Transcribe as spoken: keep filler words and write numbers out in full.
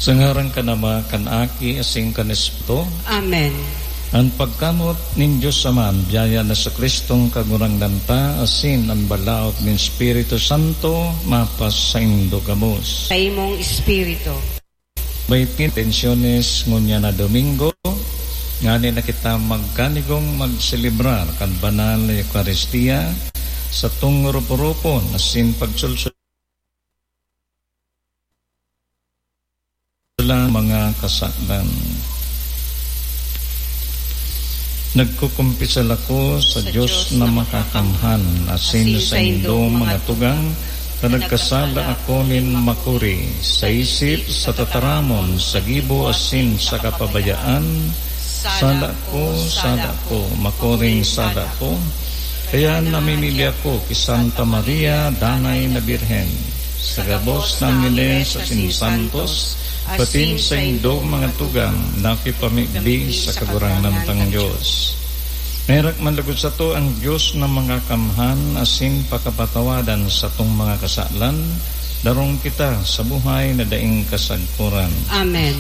Sa ngaran kan Ama, kan Aki, asin kan Espiritu. Amen. An pagkamot nin Dios Ama, an biyaya ni Jesu-Cristong Kagurangnan ta, asin an balaog nin Espiritu Santo, mapasaindo gabos. Sa imong espiritu. May intenciones ngunyan na Domingo, ngani na kita magkanigong magselebrar kan banal na Eukaristia sa tong rupo-rupon asin pagsulsol lang mga kasalan. Nagkukumpisal ako sa Sa Diyos Diyos na na makakamhan, asin asin sa saindong indong mga mga tugang, na na nagkasala nagkasala ako nin makuri, sa isip, sa tataramon, sa gibo, asin sa kapabayaan. Sala ko, sala ko, makuring sala ko. Kaya namimili ako ki Santa Maria, Danay na Birhen, sa gabos na angheles asin santos, patin saindong mga tugang na kipamibi sa Kagurangnan tang Dios. Merak man lugod sato ang Dios na makakamhan asin pakapatawadan satong mga kasalan, darong kita sa buhay na daing kasagkoran. Amen.